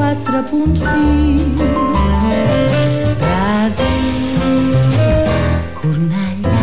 104.6 Ràdio Cornellà.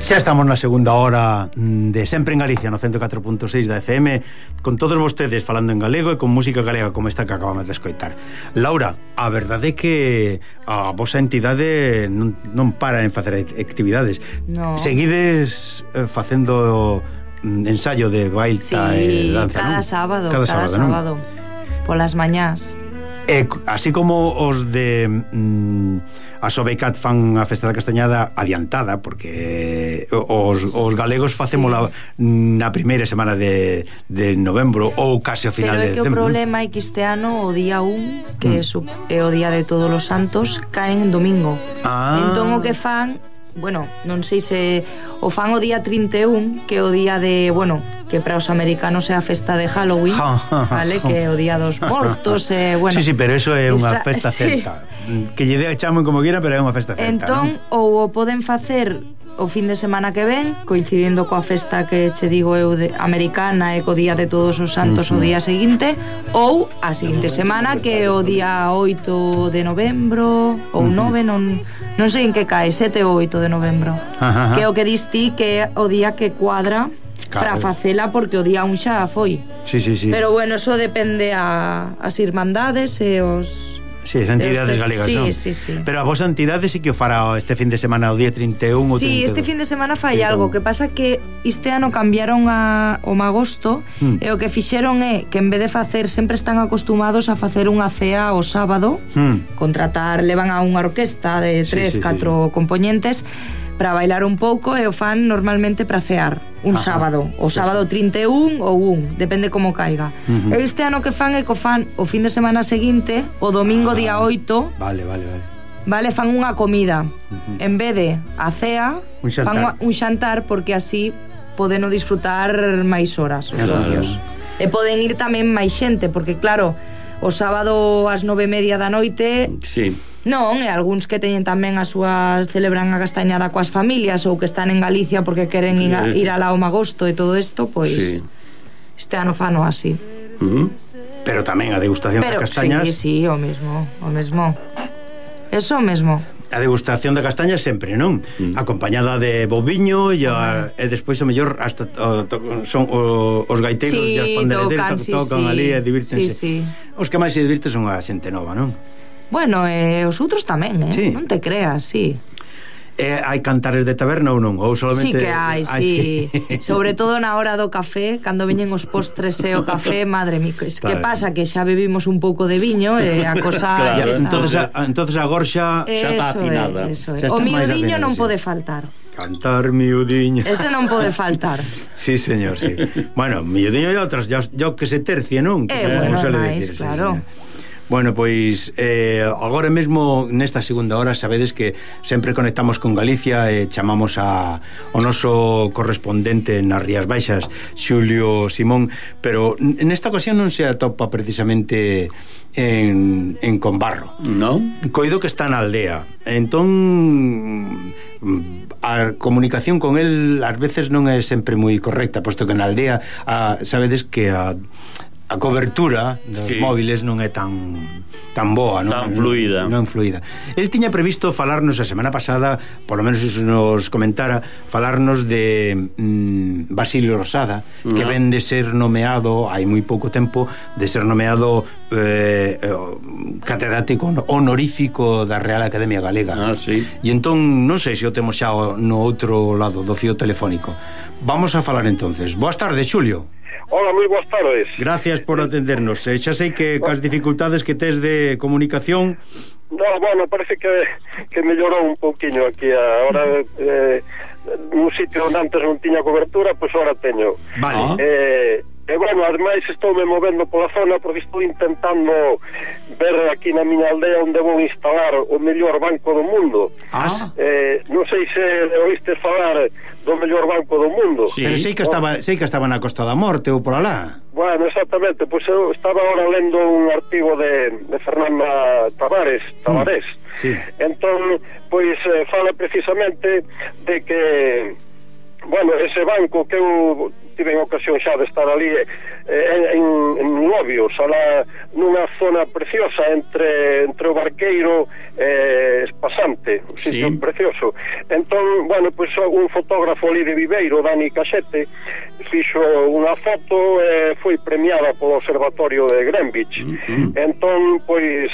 Xa estamos na segunda hora de Sempre en Galicia no 104.6 da FM, con todos vostedes falando en galego e con música galega como esta que acabamos de escoitar. Laura, a verdade é que a vosa entidade non para en facer actividades. No. Seguides facendo ensayo de baita e danza, cada non? sábado, Cada sábado polas mañás. Así como os de a Sobecat fan a Festa da Castañada adiantada, porque os galegos facémola na primeira semana de novembro ou case ao final de decembro. Pero é que o problema é que este ano o día 1, que é o día de Todos os Santos, caen domingo. Entón o que fan, bueno, non sei se o fan o día 31, que é o día de, bueno, que para os americanos é a festa de Halloween, vale, que é o día dos mortos, bueno. Sí, pero eso é unha festa celta. Que lle chamen como quiera, pero é unha festa celta. Entón, ¿no? ou o poden facer o fin de semana que ven, coincidindo coa festa que che digo eu de americana e co día de Todos os Santos o día seguinte, ou a seguinte semana, que é o día 8 de novembro ou 9, non sei en que cae, 7 ou 8 de novembro. Que é o que dis ti, que é o día que cuadra para facela, porque o día 1 xa foi. Sí. Pero bueno, eso depende as irmandades e os Sí, as entidades galegas, sí, non? Sí. Pero a vosa entidade sí que o fará este fin de semana o día 31 ou 32. Sí, este fin de semana fai algo, que pasa que este ano cambiaron o magosto e o que fixeron é que en vez de facer, sempre están acostumados a facer unha cea o sábado, levan a unha orquesta de 3-4 componentes para bailar un pouco e o fan normalmente para cear un sábado, o sábado 31 ou 1, depende como caiga. E este ano que fan é que fan o fin de semana seguinte, o domingo día 8. Vale, fan unha comida. En vez de a cea, fan un xantar, porque así podeno disfrutar máis horas os socios. E poden ir tamén máis xente, porque claro, o sábado ás 9:30 da noite. Sí. Non, e algúns que teñen tamén a súa, celebran a castañada coas familias ou que están en Galicia porque queren ir alá ao magosto e todo isto, pois este ano fano así. Pero tamén a degustación das castañas. Sí, o mesmo. Eso mesmo. A degustación da castaña sempre, non? Acompañada de boviño e despois o mellor hasta son os gaiteiros e as pandereteiras tocan ali e divírtense. Os que máis se divirten son a xente nova, non? Bueno, os outros tamén, non te creas, sí. Hai cantares de taberna ou non? Ou solamente... Sí que hai, sí. Sobre todo na hora do café, cando veñen os postres e o café, madre mía, que pasa que xa bebimos un pouco de viño e a cosa... Entonces agora xa está afinada. O miudiño non pode faltar. Cantar miudiño. Ese non pode faltar. Sí, señor, sí. Bueno, miudiño e outras, yo que se tercie, non? Bueno, máis, claro. Bueno, pois agora mesmo nesta segunda hora sabedes que sempre conectamos con Galicia e chamamos ao noso correspondente nas Rías Baixas, Xulio Simón, pero nesta ocasión non se atopa precisamente en Combarro. Non? Coido que está na aldea. Entón a comunicación con el ás veces non é sempre moi correcta, posto que na aldea sabedes que a cobertura dos móviles non é tan boa, non? Tan fluida. Non fluida. El tiña previsto falarnos a semana pasada, por lo menos iso nos comentara, falarnos de Basilio Rosada, que ven de ser nomeado hai moi pouco tempo, de ser nomeado catedrático honorífico da Real Academia Galega. Sí. E entón non sei se o temos xa no outro lado do fío telefónico. Vamos a falar entonces. Boas tardes, Xulio. Hola, moi boas tardes. Gracias por atendernos. Xa sei que cas dificultades que tes de comunicación. No, bueno, parece que mellorou un pouquiño aquí. Ahora nun sitio onde antes non tiña cobertura, pois ahora teño. Vale. E bueno, ademais estoume movendo pola zona porque estou intentando ver aquí na miña aldea onde vou instalar o mellor banco do mundo. Non sei se oíste falar do mellor banco do mundo. Sí. Pero sei que estaba na Costa da Morte ou por alá. Bueno, exactamente, pois eu estaba ahora lendo un artigo de Fernanda Tavares. Sí. Entón, pois fala precisamente de que bueno, ese banco que eu tive ocasión xa de estar ali en Lobios, nunha zona preciosa entre o Barqueiro e Espasante, un sitio precioso. Entón, bueno, pois un fotógrafo ali de Viveiro, Dani Caxete, fixo unha foto e foi premiada polo Observatorio de Greenwich. Entón, pois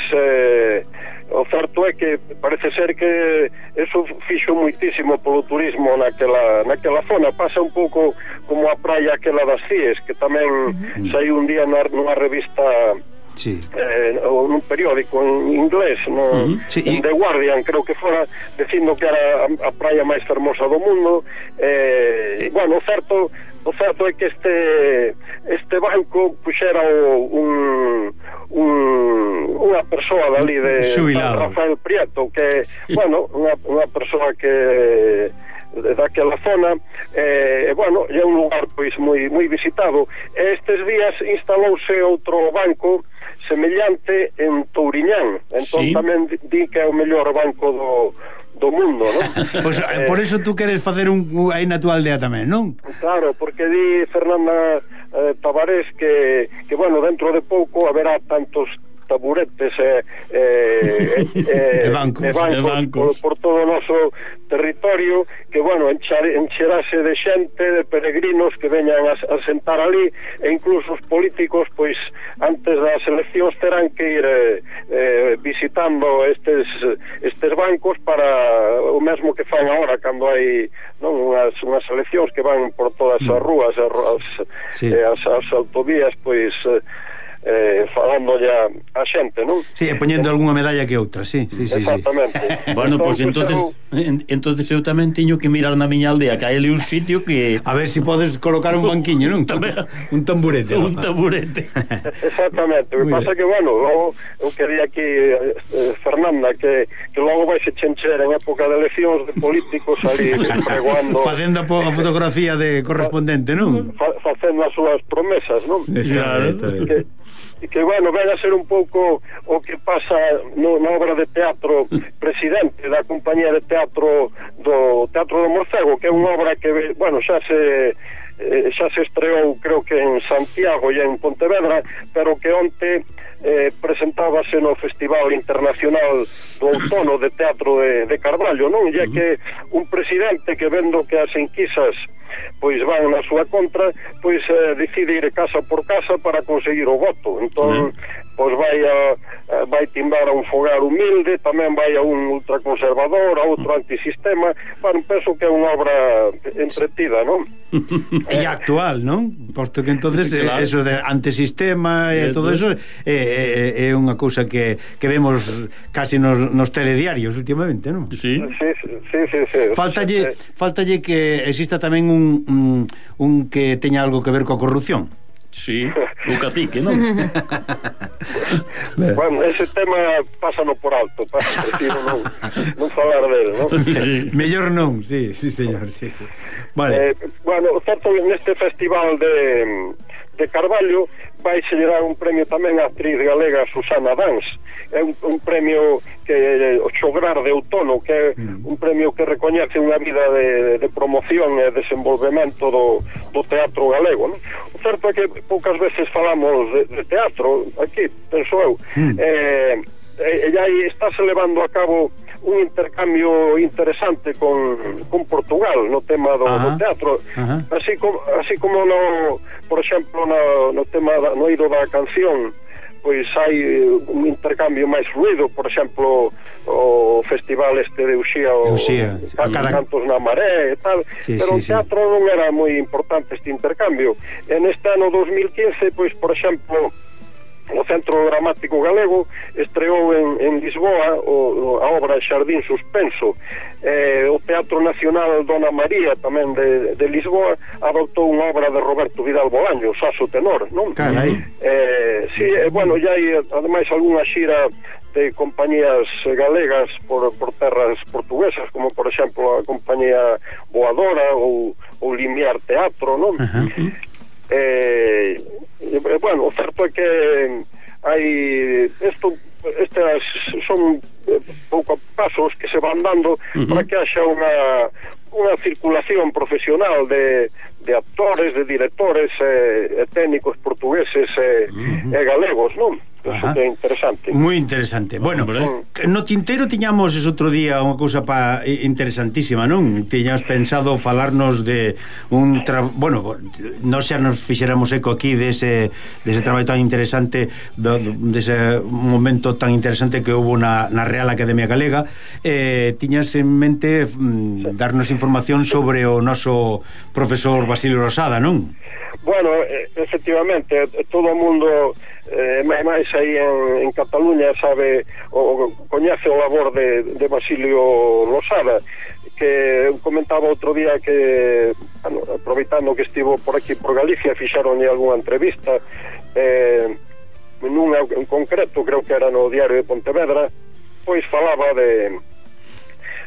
o certo é que parece ser que eso fixo moitísimo polo turismo naquela zona. Pasa un pouco como a praia aquela das Cies, que tamén saiu un día nunha revista ou nun periódico en inglés, en The Guardian, creo que fora, dicindo que era a praia máis fermosa do mundo. Bueno, o certo é que este banco puxera unha persoa dali de Rafael Prieto, que bueno, unha persoa que daquela zona, bueno, é un lugar pois moi visitado. Estes días instalouse outro banco semellante en Touriñán, entón tamén di que é o mellor banco do mundo, non? Pois por eso tú queres facer aí na tua aldea tamén, non? Claro, porque di Fernanda Tavares que bueno, dentro de pouco haberá tantos taburetes e bancos por todo o noso territorio, que, bueno, encherase de xente, de peregrinos que veñan a sentar ali, e incluso os políticos, pois, antes das eleccións terán que ir visitando estes bancos para o mesmo que fan agora cando hai, non, unhas eleccións que van por todas as rúas, as autovías, pois falando ya a xente, non? Sí, e poñendo algunha medalla que outra, sí. Exactamente. Bueno, pois entonces eu tamén teño que mirar na miña aldea, que hai ali un sitio que... A ver se podes colocar un banquiño, non? Un tamburete. Un tamburete. Exactamente. O que pasa que, bueno, eu quería aquí, Fernanda, que logo vai se chencher en época de eleccións de políticos ali pregoando... Facendo a fotografía de correspondente, non? Facendo as súas promesas, non? Claro. E que, bueno, ven a ser un pouco o que pasa na obra de teatro presidente da compañía de teatro do Teatro do Morcego, que é unha obra que, bueno, xa se estreou, creo que en Santiago e en Pontevedra, pero que onte presentábase no Festival Internacional do Outono de Teatro de Carballo, non? E que un presidente que, vendo que as enquisas pois van na súa contra, pois decide ir casa por casa para conseguir o voto. Entón, pois vai timbar a un fogar humilde, tamén vai a un ultraconservador, a outro antisistema. Bueno, penso que é unha obra entretida, non? E actual, non? Posto que entonces claro, eso de antisistema e todo eso é unha cousa que vemos casi nos telediarios últimamente, non? Sí. Faltalle que exista tamén un que teña algo que ver coa corrupción. Sí, o cacique, non? Bueno, ese tema pásano por alto, prefiro non falar dele, non? Sí. Mellor non, sí, señor, sí. Vale. Bueno, certo, neste festival de Carballo vai se lle dar un premio tamén a actriz galega Susana Dans. É un premio que o Xograr de Outono, que é un premio que recoñece unha vida de promoción e desenvolvemento do teatro galego, non? O certo é que poucas veces falamos de teatro aquí, penso eu, e aí estáse levando a cabo un intercambio interesante con Portugal no tema do teatro. Así como por exemplo no tema no eido da canción, pois hai un intercambio máis fluido, por exemplo o festival de Uxía, Cantos na Maré e tal, pero o teatro non era moi importante este intercambio. En este ano 2015, pois, por exemplo, o Centro Dramático Galego estreou en Lisboa a obra Xardín Suspenso. O Teatro Nacional Dona María, tamén de Lisboa, adoptou unha obra de Roberto Vidal Bolaño, Saso Tenor, non? Carai. Sí, bueno, ya hai ademais algunha xira de compañías galegas por terras portuguesas, como por exemplo a compañía Voadora ou Limiar Teatro, non? Bueno, o certo é que hai estas son pouco pasos que se van dando para que haxa unha circulación profesional de actores, de directores e técnicos portugueses e galegos, non? Eso que é interesante. Moi interesante. Bueno, no tinteiro tiñamos ese outro día unha cousa interesantísima, non? Tiñamos pensado falarnos de bueno, nós xa nos fixéramos eco aquí dese traballo tan interesante, dese momento tan interesante que houve na Real Academia Galega. Tiñas en mente darnos información sobre o noso profesor Basilio Rosada, non? Bueno, efectivamente, todo o mundo máis aí en Cataluña sabe o coñece o labor de Basilio Rosada, que comentaba outro día que, bueno, aproveitando que estivo por aquí por Galicia, fixaronlle algunha entrevista nunha en concreto, creo que era no Diario de Pontevedra, pois falaba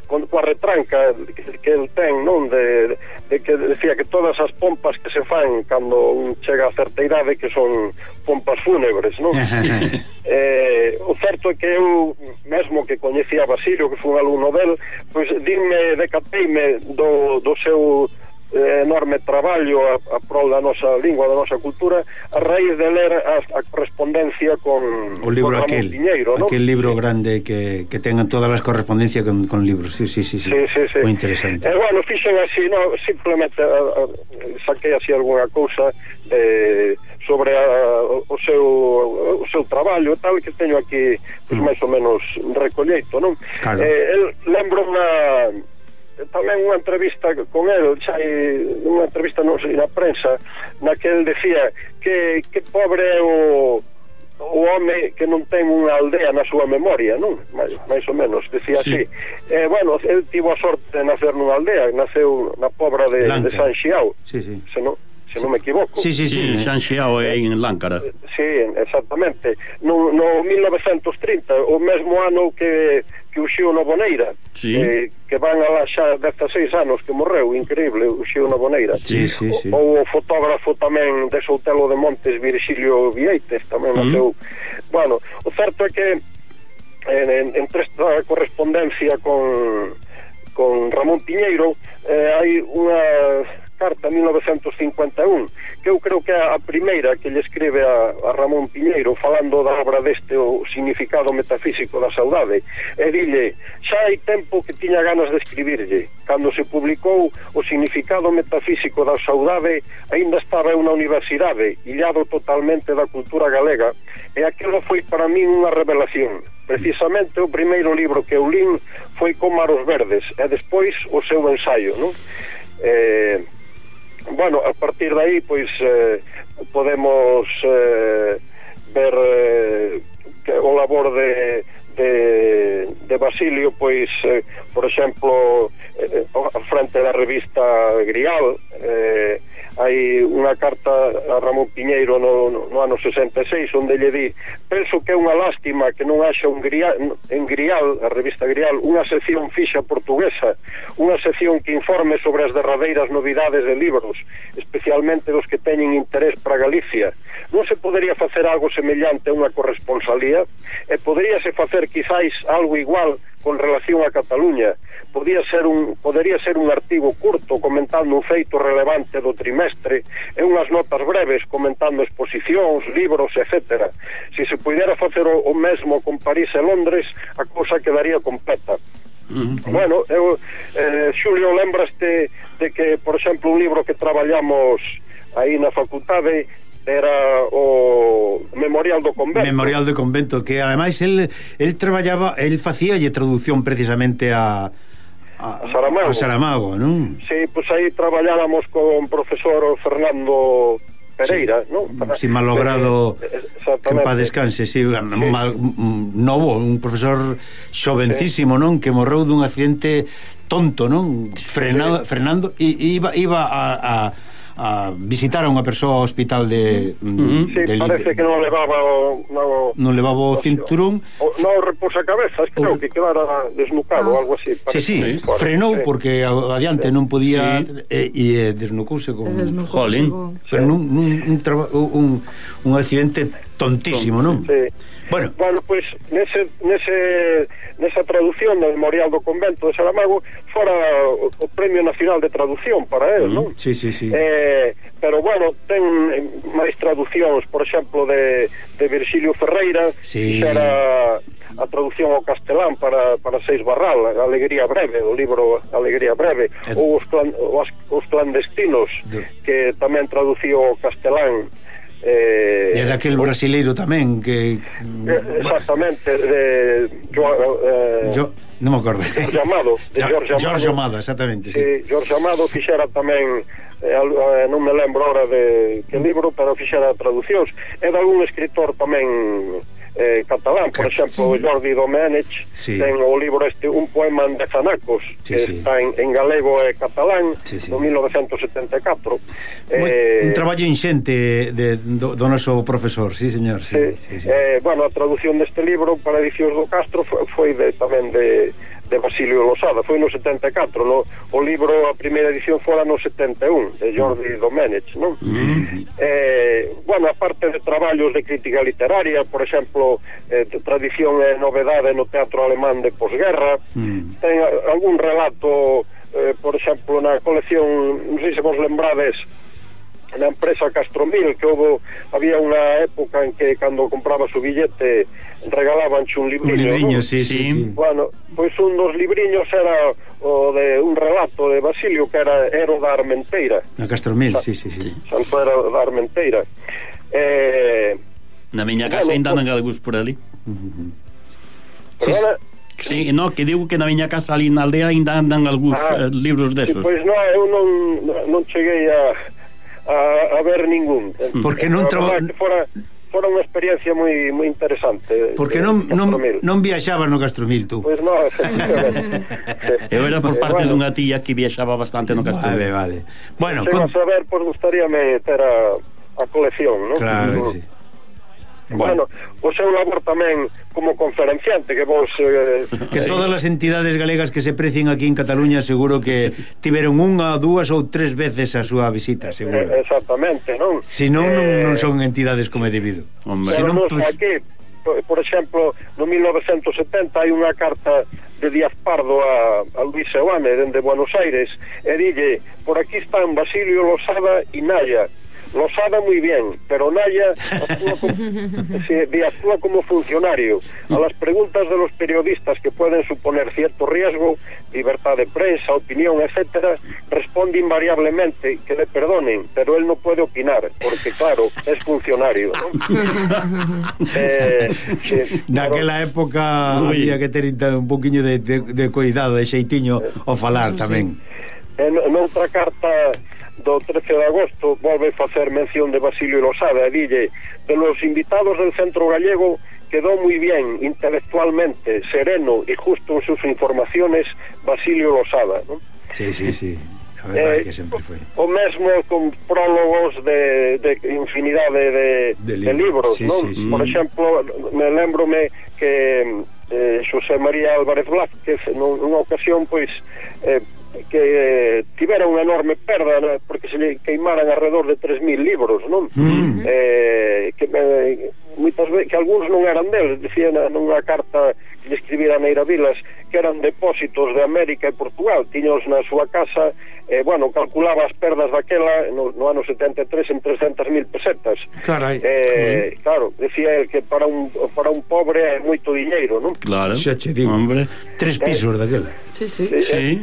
coa retranca que el ten, non, de que decía que todas as pompas que se fan cando un chega a certa idade que son pompas fúnebres, non? O certo é que eu mesmo que coñecía a Basilio, que foi un alumno del, pois decateime do seu enorme traballo a prol da nosa lingua, da nosa cultura, a raíz de ler a correspondencia con o libro con Ramón Piñeiro, ¿no? aquel libro grande que tengan todas as correspondencias con libros, sí. Moi interesante. Bueno, fixen así, no, simplemente saquei así algunha cousa sobre o seu traballo, tal, que teño aquí pues, máis ou menos recolleito, non? Claro. Lembro tamén unha entrevista con el, unha entrevista non sei, na prensa, na que el decía que pobre é o home que non ten unha aldea na súa memoria, non? Mais ou menos, decía así. Bueno, el tivo a sorte de nacer nunha aldea, naceu na Pobra de San Xiao, se non me equivoco. Sí, San Xiao é en Láncara. Sí, exactamente. No 1930, o mesmo ano que o Xío Noboneira, que van a lá xa 16 anos que morreu, increíble, o Xío Noboneira. Sí. Ou o fotógrafo tamén de Soutelo de Montes, Virxilio Vieites, tamén naceu. Bueno, o certo é que entre esta correspondencia con Ramón Piñeiro hai unha carta 1951 que eu creo que é a primeira que lle escribe a Ramón Piñeiro falando da obra deste o significado metafísico da saudade, e dille: xa hai tempo que tiña ganas de escribirlle. Cando se publicou o significado metafísico da saudade aínda estaba eu na universidade, illado totalmente da cultura galega, e aquilo foi para min unha revelación. Precisamente o primeiro libro que eu lin foi Cómaros Verdes, e despois o seu ensaio, non? Bueno, a partir de aí pois podemos ver que o labor de Basilio, pois por exemplo a frente da revista Grial, hai unha carta a Ramón Piñeiro no ano 66 onde lle di: penso que é unha lástima que non haxa en Grial, a revista Grial, unha sección fixa portuguesa, unha sección que informe sobre as derradeiras novidades de libros, especialmente dos que teñen interés para Galicia. Non se podería facer algo semellante a unha corresponsalía, e poderíase facer quizáis algo igual con relación a Cataluña. Podería ser un artigo curto comentando un feito relevante do trimestre e unhas notas breves comentando exposicións, libros, etc. Se se pudera facer o mesmo con París e Londres, a cousa quedaría completa. Bueno, Xulio, lembraste de que, por exemplo, un libro que traballamos aí na facultade era o Memorial do Convento, que ademais el traballaba, el facíalle traducción precisamente a Saramago, non? Sí, pois aí traballáramos con profesor Fernando Pereira, non? Si malogrado, que en paz descanse, novo, un profesor xovencísimo, non? Que morreu dun accidente tonto, non? Frenando, e iba a visitar a unha persoa ao hospital de parece que non levaba o cinturón, non repousa cabezas, creo que quedara desnucado ou algo así. Sí, frenou porque adiante non podía e desnucouse con jolín, pero un accidente tontísimo, non? Sí. Bueno, pois nesa traducción do Memorial do Convento de Saramago fora o Premio Nacional de Traducción para él, non? Sí. Pero bueno, ten máis traducións, por exemplo, de Virxilio Ferreira, que era a traducción ao castelán para Seis Barral, Alegría Breve, o libro Alegría Breve, ou os clandestinos, que tamén traduciu ao castelán. E daquel brasileiro tamén que exactamente, non me acordo, Jorge Amado, exactamente, sí. Jorge Amado fixera tamén, non me lembro ahora de que libro, pero fixera traducións, e de algún escritor tamén catalán, por exemplo Jordi Domenech, ten o libro Un poema en Dezanacos, que está en galego e catalán, no 1974. Un traballo inxente do noso profesor, sí, señor. Bueno, a traducción deste libro para Edicións do Castro foi tamén de Basilio Losada, foi no 74, o libro, a primeira edición fora no 71, de Jordi Domenech, non? Bueno, aparte de traballos de crítica literaria, por exemplo, tradición e novedade no teatro alemán de posguerra, ten algún relato por exemplo, na colección, non sei se vos lembrades, na empresa Castromil, que había unha época en que cando comprabas o billete regalaban un libriño, ¿no? Sí. Bueno, pois un dos libriños era o de un relato de Basilio que era Ero da Armenteira. Na Castromil, sí. Santo Ero da Armenteira. Na miña casa ainda andan algúns por ali. Perdona? Sí, no, que digo que na miña casa ali na aldea ainda andan algúns libros desos. Pois non, eu non cheguei a ver ningún. Porque non fora unha experiencia moi interesante. Porque non viaxabas no Castromil, tú. Pois non. Eu era por parte dunha tía que viaxaba bastante no Castromil. Vale. Bueno, a saber, pois gustaríame ter a colección, non? Claro que sí. Bueno, o seu labor tamén como conferenciante que vos que todas as entidades galegas que se precien aquí en Cataluña seguro que tiveron unha, dúas ou tres veces a súa visita, seguro. Exactamente, non? Se non son entidades como é debido. Pero non aquí, por exemplo, no 1970 hai unha carta de Díaz Pardo a Luis Seoane dende Buenos Aires e dille, por aquí están Basilio Losada e Naya. Losada muy bien, pero Naya actúa como funcionario. A las preguntas de los periodistas que pueden suponer cierto riesgo, libertad de prensa, opinión, etcétera, responde invariablemente que le perdonen, pero él no puede opinar, porque claro, es funcionario, ¿no? Naquela época había que ter un poquinho de cuidado, de xeitiño ao falar tamén. Noutra carta do 13 de agosto volve facer mención de Basilio Losada e dille, de los invitados del centro gallego quedó muy bien intelectualmente, sereno y justo en sus informaciones Basilio Losada, ¿no? Sí, a verdade que sempre foi. O mesmo con prólogos de infinidade de libros, ¿no? Por exemplo, me lembrome que Xosé María Álvarez Blázquez nunha ocasión, pois que tivera unha enorme perda, ¿no? Porque se lle queimaran alrededor de 3.000 libros, non? Que moitas veces que algúns non eran deles, decían nunha carta que lle escribira Neira Vilas que eran depósitos de América e Portugal, tiños na súa casa, bueno, calculaba as perdas daquela no ano 73 en 300.000 pesetas. Carai. Claro, decía el que para un pobre é moito diñeiro, non? Claro, xa che digo, hombre. 3 pisos daquela. Sí.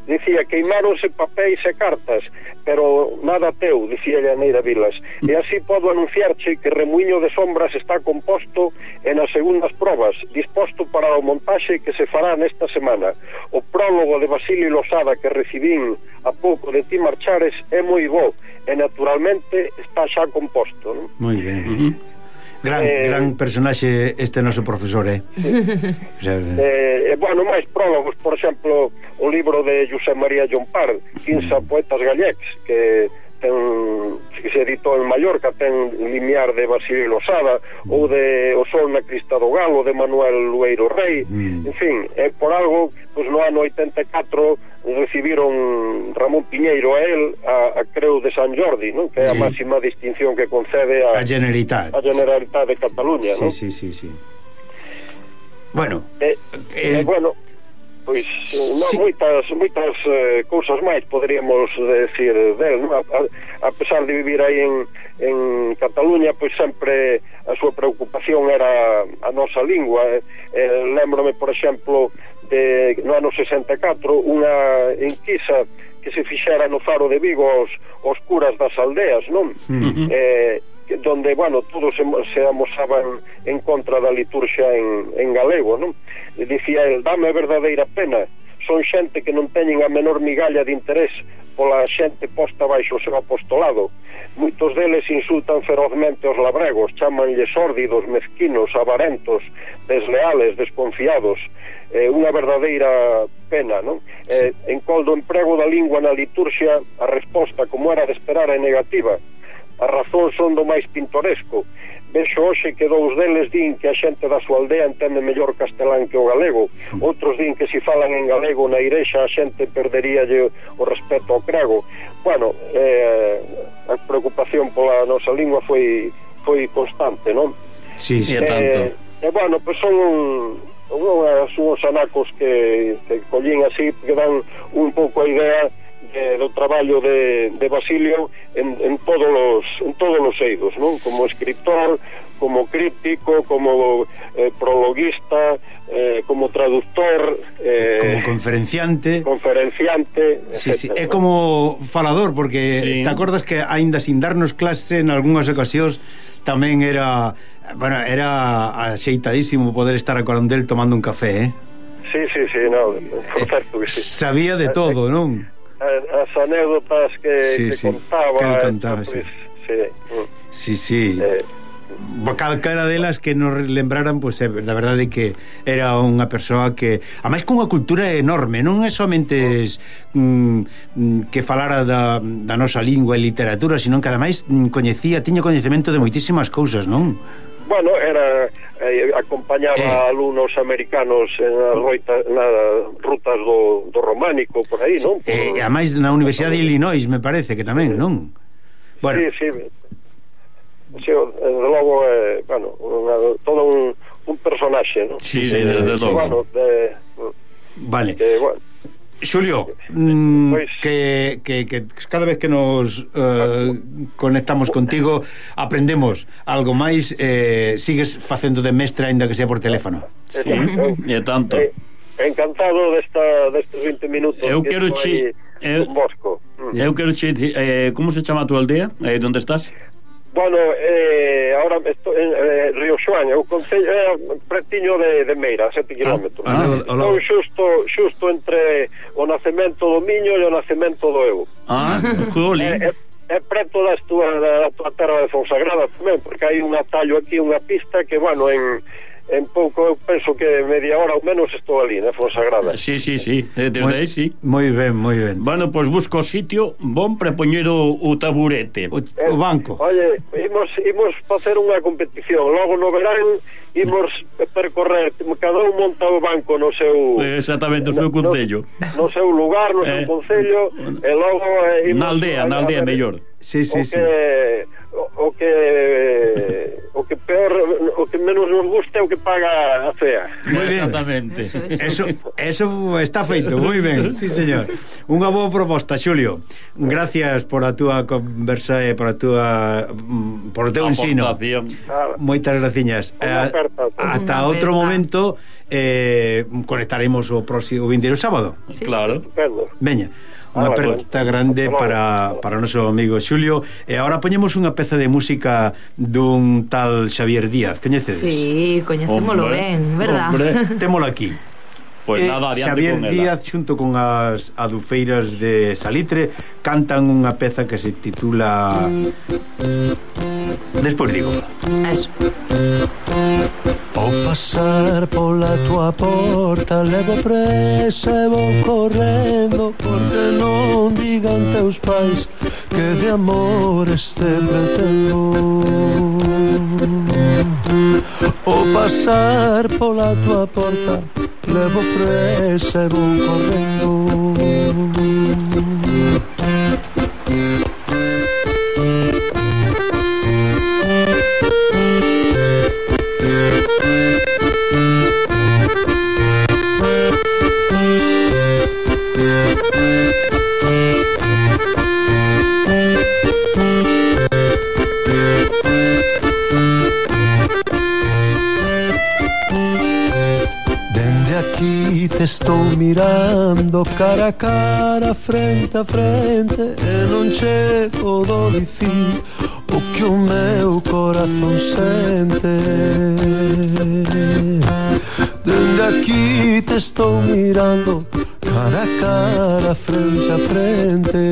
Dicía, queimáronse papéis e cartas, pero nada teu, dicía Neira Vilas. E así podo anunciarche que Remuiño de Sombras está composto e nas segundas probas, disposto para o montaxe que se fará nesta semana. O prólogo de Basilio Losada que recibín a pouco de ti marchares é moi bo e naturalmente está xa composto, non? Moi ben. Gran personaxe este noso profesor, bueno, máis prólogos, por exemplo, o libro de José María Llompar, 15 poetas gallecs, que se editou en Mallorca, ten Limiar de Basilio Losada, ou de O Sol na Crista do Galo de Manuel Lueiro Rei. En fin, por algo, pues no ano 84 recibiron Ramón Piñeiro a él a Creu de San Jordi, ¿no? Que é a máxima distinción que concede a Generalitat de Cataluña, ¿no? Sí. Bueno, bueno, pois moitas cousas máis poderíamos decir del, ¿no? A pesar de vivir aí en Cataluña, pois sempre a súa preocupación era a nosa lingua. Lembrome, por exemplo, no ano 64 unha enquisa que se fixera no Faro de Vigo aos curas das aldeas, non? Donde, bueno, todos se amosaban en contra da liturxia en galego, non? E dicía el, dame verdadeira pena, son xente que non teñen a menor migalla de interés pola xente posta baixo o seu apostolado. Moitos deles insultan ferozmente os labregos, chamanlle sórdidos, mezquinos, avarentos, desleales, desconfiados. Unha verdadeira pena, non? En col do emprego da lingua na liturxia, a resposta, como era de esperar, é negativa. As razóns son do máis pintoresco. Vexo hoxe que dous deles din que a xente da súa aldea entende mellor castelán que o galego. Outros din que se falan en galego na igrexa a xente perderíalle o respeto ao crego. Bueno, a preocupación pola nosa lingua foi constante, non? Sí, tanto. Bueno, pois son unhas anacos que collín así, que dan un pouco a idea do traballo de Basilio en todos os eidos, non? Como escritor, como crítico, como prologuista, como traductor, como conferenciante, etcétera. Sí, é como falador, porque sí. Te acordas que aínda sin darnos clase en algunhas ocasións tamén era axeitadísimo poder estar a corondel tomando un café, Sí, no, por certo que sí. Sabía de todo, non? As anécdotas que contaba, sí. Sí. Calquera delas que nos lembraran, pois da verdade que era unha persoa que, ademais, cunha cultura enorme, non é somente que falara da nosa lingua e literatura, sino que ademais tiña coñecemento de moitísimas cousas, non? Bueno, acompañaba alumnos americanos nas rutas do románico, por aí, non? Ademais na Universidade de Illinois, me parece que tamén, non? Bueno. Sí, desde logo, todo un personaxe, non? Sí, desde logo. Vale. Xulio, pues, que cada vez que nos conectamos contigo aprendemos algo máis, sigues facendo de mestre aínda que sea por teléfono. Sí, e tanto. Encantado destes 20 minutos. Eu quero che Bosco. Eu quero che como se chama a tua aldea? Onde estás? Bueno, ahora estou en Río Xoán, o concello pretiño de Meira, 7 kilómetros. Estou xusto entre o nacemento do Miño e o nacemento do Ego. Jolín. É preto da tua terra de Fonsagrada tamén, porque hai un atallo aquí, unha pista que, bueno, en pouco, eu penso que media hora ou menos estou ali, na Fonsagrada. Sí, desde aí, sí. Moi ben. Bueno, pois busco sitio bon para poñer o taburete, o banco. Oye, imos facer unha competición, logo no verán imos percorrer, cada un monta o banco no seu... Exactamente, no seu concello. No seu lugar, no seu concello, e logo... Na aldea mellor. Sí. O que peor, o que menos nos gusta é o que paga a fea. Exactamente. Eso está feito, moi ben. Sí, señor. Unha boa proposta, Xulio. Gracias por a túa conversa e por o teu ensino. Moitas graciñas. Ata outro momento conectaremos o vindeiro sábado. Sí. Claro. Veña. Unha aperta grande para o noso amigo Xulio. E agora poñemos unha peza de música dun tal Xavier Díaz. Coñecedes? Sí, coñecémolo ben, verdad? Témolo aquí. Pois nada, adiante Xavier con ela. Díaz xunto con as adufeiras de Salitre cantan unha peza que se titula Despois digo. Eso. Ao pasar pola tua porta levo presa e vou correndo, porque non digan teus pais que de amor este pretendo. Ao pasar pola tua porta levo presa e vou correndo. Aquí te estou mirando cara a cara, frente a frente, e non chego do dicir o que o meu corazón sente. Dende aquí te estou mirando cara a cara, frente a frente.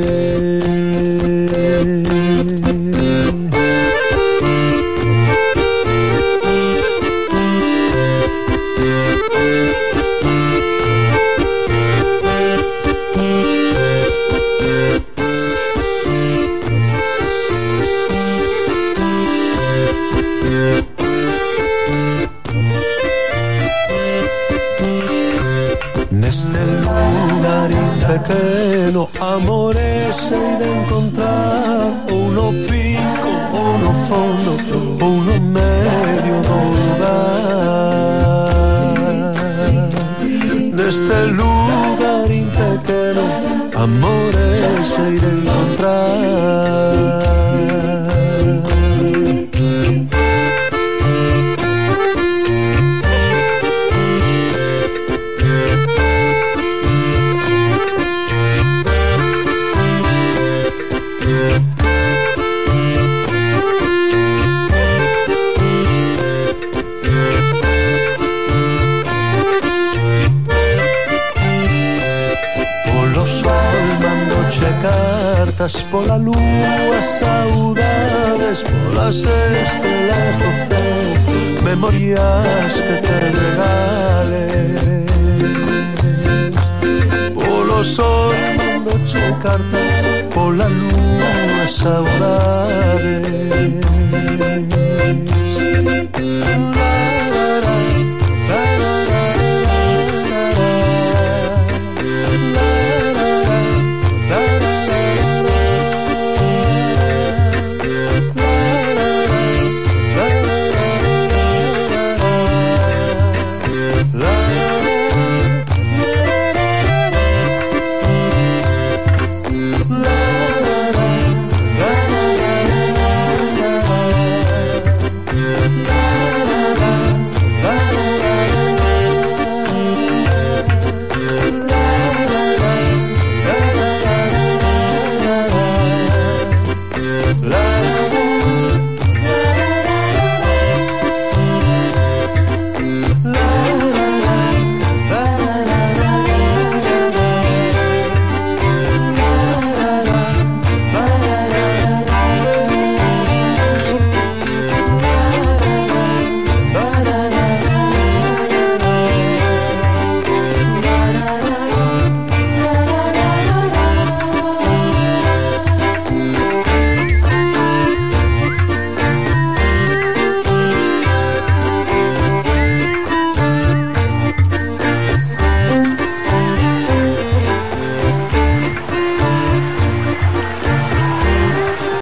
Neste lugarín pequeno, amores sei de encontrar, ou no pico, ou no fondo, ou no medio do lugar. neste lugarín pequeno amores hei de encontrar. Cartas pola lúa, saudades polas estrelas do céu, memorias que te regale. Polo sol mandoche cartas pola lúa, saudades